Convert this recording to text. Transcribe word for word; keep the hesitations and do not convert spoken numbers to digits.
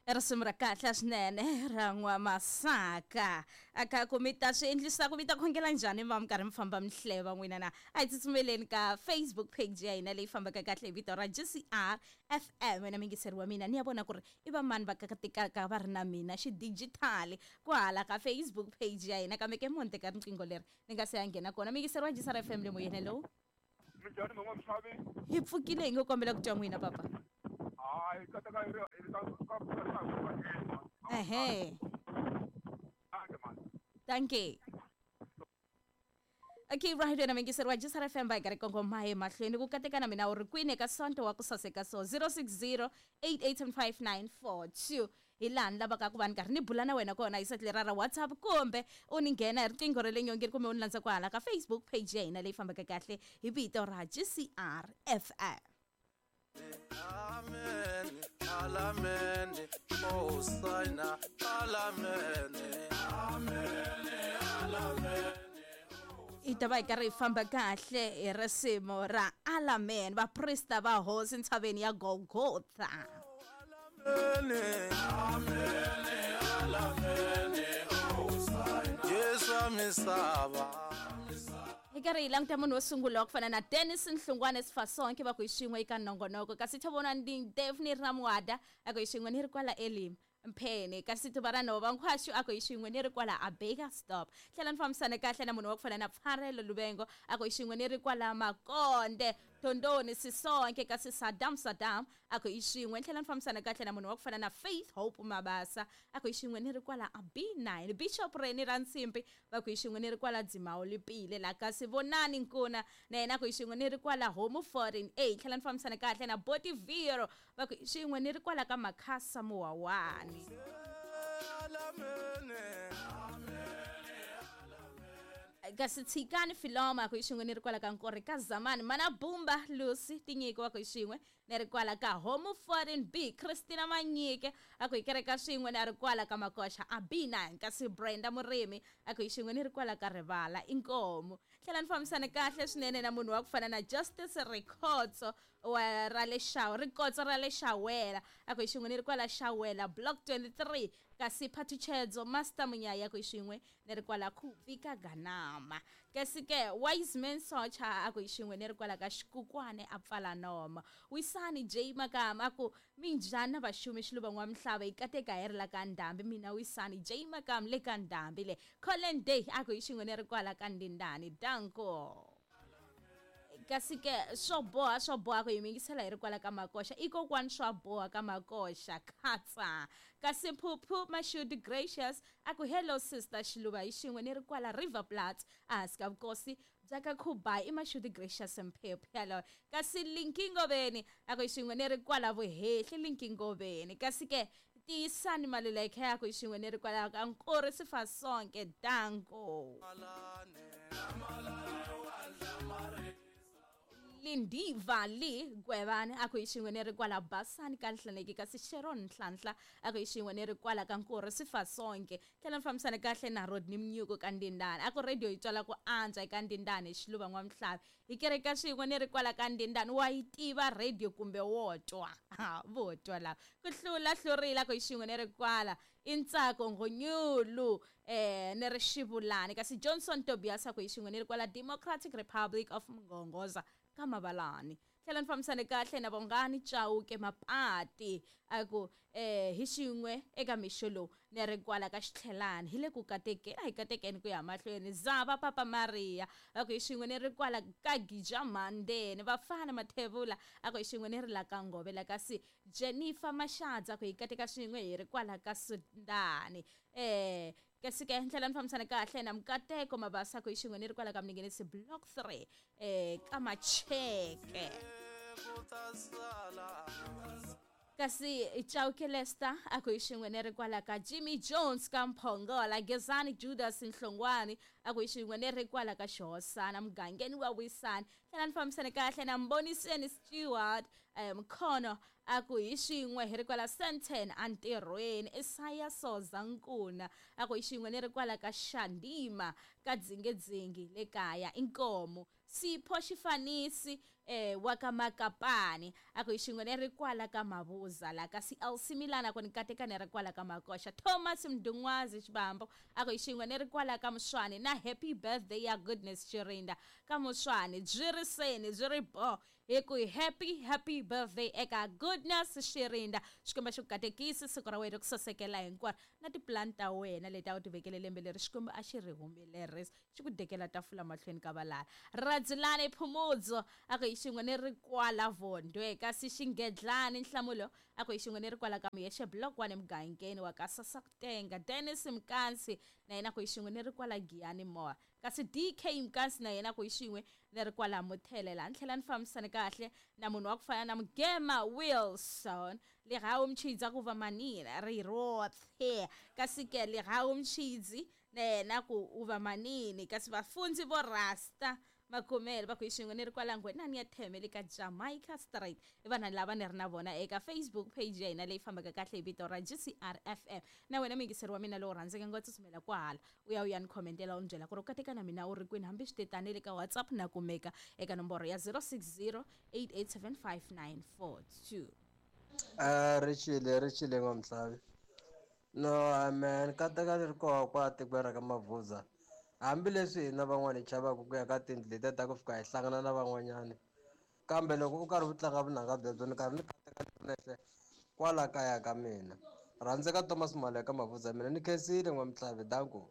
Risimu ra kahle swinene ra N'wamasaka aka ku mi ta swi endlisa ku mi ta khongela njhani va mi karhi mi famba mi hleva n'wina na a hi tsutsumeleni ka Facebook page ya hina leyi fambaka kahle hi vito ra G C R F M. Wena mingiseri wa mina ni ya vona ku ri i va mani va kakatekaka va ri na mina xidijitali kwahala ka Facebook page ya hina, kambe ke monte ka riqingho leri ni nga se ya nghena kona. Mingiseri wa G C R F M le moyeni, hello. Minjhani mama Mhlavi? Hi pfukile, hi ngo kombela ku twa n'wina papa. Hayi kataka hi ri ka ka ka. Ehe. Thank you. Okay, right wena mingiseri wa G C R F M ba hi karhi kongoma emahlweni ku kateka na mina u ri kwini eka Sonto wa ku saseka so zero six zero eight eight seven five nine four two hi laha ni lavaka ku va ni karhi ni bula na wena kona hi seti lera ra WhatsApp kumbe u ni nghena hi riqingho ra le nyongeni kumbe u ni landza kwahala ka Facebook page ya hina leyi fambaka kahle hi vito ra G C R F M. Amen, amen, Hosanna, amen, amen, amen. I ta va hi karhi hi famba kahle hi risimu ra Alamen, vaprista va hosi ntshaveni ya Golgotha. Amen, amen, amen, Hosanna, Yesu misava. Hi karhi hi languta munhu wo sungula wa ku fana na Dennis Nhlungwane Sifasonke va ku hi xin'we eka nongonoko, kasi tho vona ni Daphne Ramwada a ku hi xin'we ni ri kwala Elim Mphene, kasi tuva ra nhova Nkhwaxu a ku hi xin'we ni ri kwala a Baker Stop. Tlhela ni fambisana kahle na munhu wa ku fana na Pfarelo Luvengo a ku hi xin'we ni ri kwala Makonde Tondoni Sisonke, kasi Saddam Saddam a ku hi xin'we. Tlhela ni fambisana kahle na munhu wa ku fana na Faith Hope Mabasa a ku hi xin'we ni ri kwala a B nine. Bishop Reni Rantsimbi va ku hi xin'we ni ri kwala Dzimawu Lipile la, kasi Vonani Nkuna na yena a ku hi xin'we ni ri kwala Home Foreign A. Tlhela ni fambisana kahle na Boti Vero va ku hi xin'we ni ri kwala ka Makhasa Muwawani. Kasi Tshikani Filoma ku hi xin'we ni ri kwala ka Nkori ka Zamani. Mana Bumba Lucy Tinyiko wa ku hi xin'we ni ri kwala ka Home Foreign B. Christina Manyike a ku hi kereka swin'we ni ri kwala ka Makoxa a B nine. Kasi Brenda Murimi a ku hi xin'we ni ri kwala ka Rivala Inkomu. Tlhela ni fambisana kahle swinene na munhu wa ku fana na Justice Rikhotso wa ra le Xawa, Rikotso ra le Xawela a ku hi xin'we ni ri kwala Xawela Block twenty-three. Kasi Phathutshedzo Master Munyaya ku hi xin'we ni ri kwala Khuvi ka Ganama. Kasi ke Wiseman Socha a ku hi xin'we ni ri kwala ka Xikukwane a pfala noma. Wisani J Makama a ku minjhani na vaxumi Xiluva N'wamhlava hi kateka hi ri la ka Ndhambi. Mina Wisani J Makama le ka Ndhambi le. Colin Day a ku hi xin'we ni ri kwala ka Ndindani. Danko. Kasi ke swo boha swo boha ku hi mingisela hi ri kwala ka Makoxa i kokwani swa boha ka Makoxa khatsa. Kasi Phuphu Mashudu Gracious a ku hello sister Xiluva hi xin'we ni ri kwala River Plat ehansi ka vukosi bya ka Khubai i Mashudu Gracious Mphephu yaloyo. Kasi Linki Ngoveni a ku hi xin'we ni ri kwala Vuhehli Linki Ngoveni. Kasi ke Tiyisani Maluleke ya ku hi xin'we ni ri kwala ka Nkori Sifasonke. Danko. Lindiva Li Gwevani a ku hi xin'we ni ri kwala Basani ka Nhlaneki. Kasi Sharon Nhlanhla a ku hi xin'we ni ri kwala ka Nkori Sifasonke. Tlhela ni fambisana kahle na Rodney Mnyuko ka Ndindani a ku radio yi twala ku antswa eka Ndindani hi Xiluva N'wamhlavi hi kereka swin'we ni ri kwala ka Ndindani. Wa yi tiva radio kumbe wo twa? Vo twa lava ku hlula hlurile a ku hi xin'we ni ri kwala i Ntsako Nghonyulu eh ni ri Xivulani. Kasi Johnson Tobias a ku hi xin'we ni ri kwala Democratic Republic of Mngongoza ka Mabalani. Tlhela ni fambisane kahle na Bongani Chauke Mapati a ku eh hi xin'we eka mixo lowu ni ri kwala ka Xitlhelani hi le ku katekeni a hi katekeni ku ya mahlweni. Zava Papa Maria a ku hi xin'we ni ri kwala ka Gija Mandeni. Vafana Mathevula a ku hi xin'we ni ri la ka Ngovela. Kasi Jennifer Mashadza a ku hi kateka swin'we hi ri kwala ka Sundani. Eh kasi ke ndlela ni fambisana kahle na Mukateko Mabasa ku hi xin'we ni ri kwala ka Mningenisi Block three eh ka Macheke. Kasi Chauke Lester a ku hi xin'we ni ri kwala ka Jimmy Jones ka Mphongola. Gezani Judas Nhlongwani a ku hi xin'we ni ri kwala ka Xihosana mugangeni wa Wisani. Tlhela ni fambisana kahle na Mboniseni Stewart Mkhono a ku hi xin'we hi ri kwala Sandton entirhweni. Isaya Soza Nkuna a ku hi xin'we ni ri kwala ka Xandima ka Dzingedzingi le kaya Inkomu. Sipho Xifanisi eh wa ka Makapani a ku hi xin'we ni ri kwala ka Mabuza la kasi L C Milana ku ni kateka ni ri kwala ka Makoxa Thomas Mdungwazi Xibambo a ku hi xin'we ni ri kwala ka Muswani na happy birthday ya Goodness Chirinda ka Muswani byi ri seni byi ri bo hi ku happy happy birthday eka Goodness Shirinda. Xikwembu xi ku katekisi siku ra wena ri ku sasekela hinkwaro na tipulani ta wena leti a wu ti vekele lembe leri Xikwembu a xi ri humelerisa xi ku dekela tafula mahlweni ka valala. Radzulani Phumudzo a ku hi xin'we ni ri kwala Vondwe kasi Xingedlani Nhlamulo a ku hi xin'we ni ri kwala ka Muyexe Block one emugangeni wa ka Sasakutenga. Dennis Mkansi na yena ku hi xin'we ni ri kwala Giyani Moa kasi D K Mkansi na yena ku hi xin'we ni ri kwala Muthelela. Ni tlhela ni fambisane kahle na munhu wa ku fana na Mugema Wilson Lerawu Mchidzi a ku va manini ri roṱhe kasi ke Lerawu Mchidzi na yena ku u va manini kasi vafundzi vo rasta Makumele va ku hi xin'we ni ri kwala Ngwenani ya Theme le ka Jamaica Street. I vanhu lava ni ri na vona eka Facebook page ya hina leyi fambaka kahle hi vito ra G C R F M. Na wena muyingiseri wa mina lowu rhandzeke ngopfu tsutsumela kwahala u ya u ya ni khomentela u ni byela ku ri u kateka na mina u ri kwini hambi swi te tani le ka WhatsApp na kumeka eka nomboro ya zero six zero eight eight seven five nine four two. Uh, ri chile ri chile n'wamhlavi. No man kateka ni ri koho kwa tikweni ra ka Mavuza. Hambileswi hina van'wana hi chavaka ku ya ka tindlu letiya ta ku fika hi hlangana na van'wanyana kambe loko u karhi u tlanga vunanga byebyo ni karhi ni kateka nexe kwala kaya ka mina. Rhandzeka Thomas Maleka Mavuza mina ni khensile n'wamhlavi danko.